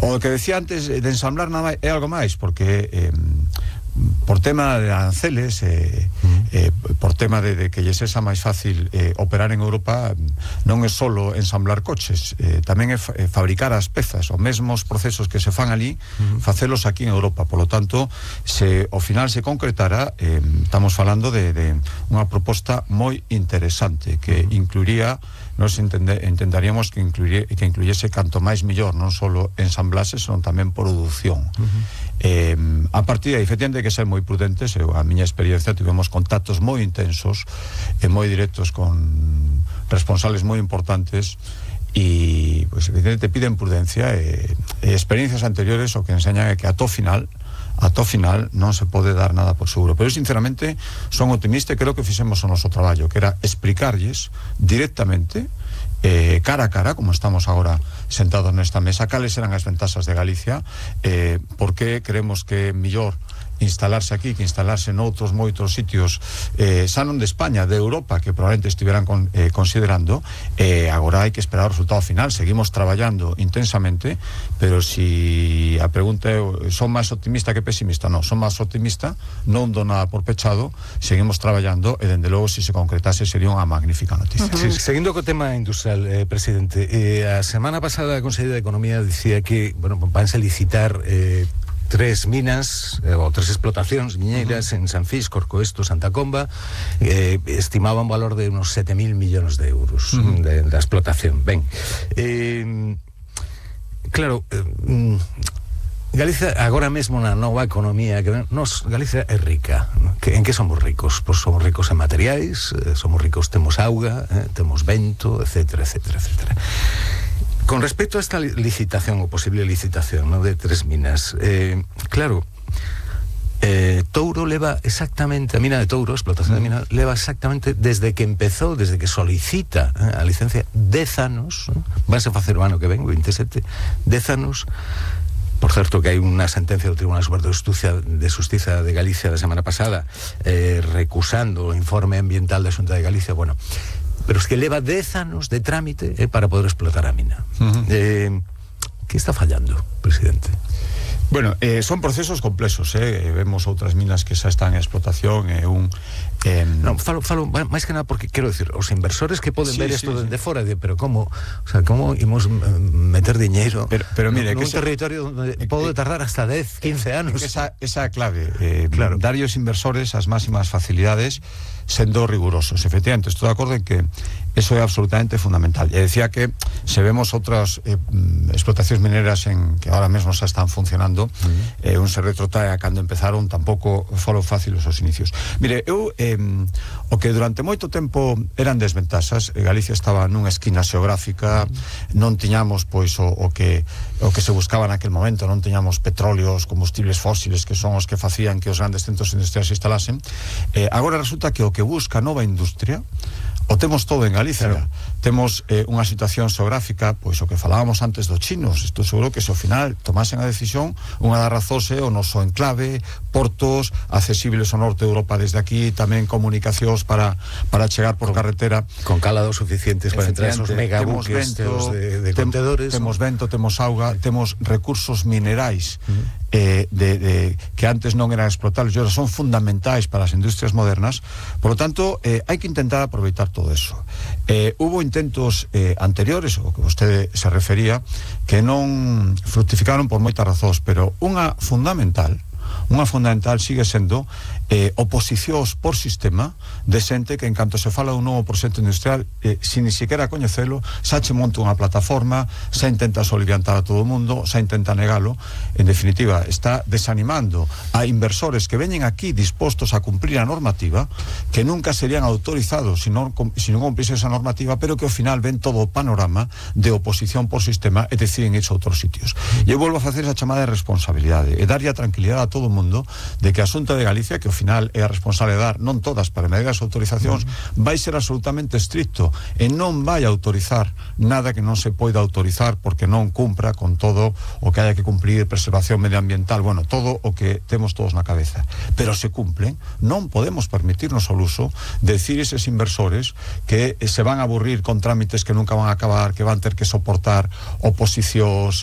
O que decía antes de ensamblar nada é algo máis, porque por tema de aranceles, por tema de que lles sexa máis fácil operar en Europa, non é solo ensamblar coches, tamén é fabricar as pezas, os mesmos procesos que se fan ali, facelos aquí en Europa. Por lo tanto, se ao final se concretara, estamos falando de unha proposta moi interesante que incluiría, nos entenderíamos que incluyese canto máis millor, non solo ensamblaxe, senón tamén produción. A partir de aí, efectivamente, que ser moi prudentes. A miña experiencia, tivemos contactos moi intensos e moi directos con responsables moi importantes e, pues, evidentemente, piden prudencia e experiencias anteriores o que enseñan é que a to final non se pode dar nada por seguro. Pero eu, sinceramente, son optimista e creo que fixemos o noso traballo, que era explicarlles directamente, cara a cara, como estamos agora sentados nesta mesa, cales eran as ventaxas de Galicia, porque creemos que é mellor instalarse aquí que instalarse noutros moitos sitios, xa non de España, de Europa, que probablemente estiveran considerando. Agora hai que esperar o resultado final. Seguimos traballando intensamente, pero si a pregunta é, son máis optimista que pesimista? Non, son máis optimista, non do nada por pechado, seguimos traballando e, dende logo, se concretase, sería unha magnífica noticia. Sí, seguindo co tema industrial, presidente, a semana pasada a Conselleira de Economía dicía que, bueno, vanse licitar 3 minas ou 3 explotacións miñeiras en San Fis, Corcoesto, Santa Comba, estimaba un valor de unos 7.000 millóns de euros da explotación. Ben, claro, Galicia agora mesmo na nova economía que Galicia é rica, ¿no? En que somos ricos? Pois somos ricos en materiais, somos ricos, temos auga, temos vento, etcétera, etcétera, etcétera. Con respecto a esta licitación, o posible licitación, ¿no?, de 3 minas, claro, Touro leva exactamente, a mina de Touro, a explotación de mina, leva exactamente desde que empezou, desde que solicita a licencia, 10 anos, ¿no? Vanse facer o ano que ven, 27, 10 anos. Por certo, que hai unha sentencia do Tribunal Superior de Xustiza de Galicia da semana pasada, recusando o informe ambiental da Xunta de Galicia. Bueno, pero es que leva 10 anos de trámite para poder explotar a mina. Que está fallando, presidente? Bueno, son procesos complexos, vemos outras minas que xa están en explotación, non, falo máis que nada porque quero decir, os inversores que poden ver isto dende fora, pero como, o sea, como imos meter diñeiro pero mire, nun territorio onde pode tardar hasta 10, 15 anos. Esa é a clave, claro, dar aos inversores as máximas facilidades sendo rigurosos. Efectivamente, estou de acordo en que eso é absolutamente fundamental. E decía que se vemos outras explotacións mineras que ahora mesmo xa están funcionando, un se retrotrae a cando empezaron, tampouco foron fáciles os inicios. Mire, eu o que durante moito tempo eran desventaxas, Galicia estaba nunha esquina xeográfica, non tiñamos pois o que se buscaba naquel momento, non tiñamos petróleos, combustibles fósiles, que son os que facían que os grandes centros industriais se instalasen. Agora resulta que o que busca nova industria o temos todo en Galicia. Claro. Temos unha situación xeográfica, pois o que falábamos antes dos chinos. Estou seguro que se ao final tomasen a decisión, unha das razóns é o noso enclave, portos accesibles ao norte de Europa desde aquí, tamén comunicacións para chegar por carretera con cálados suficientes para entrar esos megabuques de contedores. Temos vento, temos auga, temos recursos minerais que antes non eran explotables e ahora son fundamentais para as industrias modernas. Por lo tanto, hai que intentar aproveitar todo eso. Hubo intentos anteriores, o que vostede se refería, que non fructificaron por moitas razóns, pero unha fundamental sigue sendo oposicións por sistema de xente que, en canto se fala dun novo proxecto industrial, sin ni siquiera coñecelo, xa che monta unha plataforma, xa intenta soliviantar a todo o mundo, xa intenta negalo. En definitiva, está desanimando a inversores que veñen aquí dispostos a cumplir a normativa, que nunca serían autorizados se non cumplise esa normativa, pero que ao final ven todo o panorama de oposición por sistema e deciden irse a outros sitios. E eu volvo a facer esa chamada de responsabilidade e darlle a tranquilidade a todo o mundo de que a Xunta de Galicia, que ao final é a responsable de dar, non todas, para medir as autorizacións, vai ser absolutamente estricto e non vai autorizar nada que non se poida autorizar porque non cumpra con todo o que haya que cumplir, preservación medioambiental, bueno, todo o que temos todos na cabeza. Pero se cumplen, non podemos permitirnos o luso de decir eses inversores que se van a aburrir con trámites que nunca van a acabar, que van ter que soportar oposicións,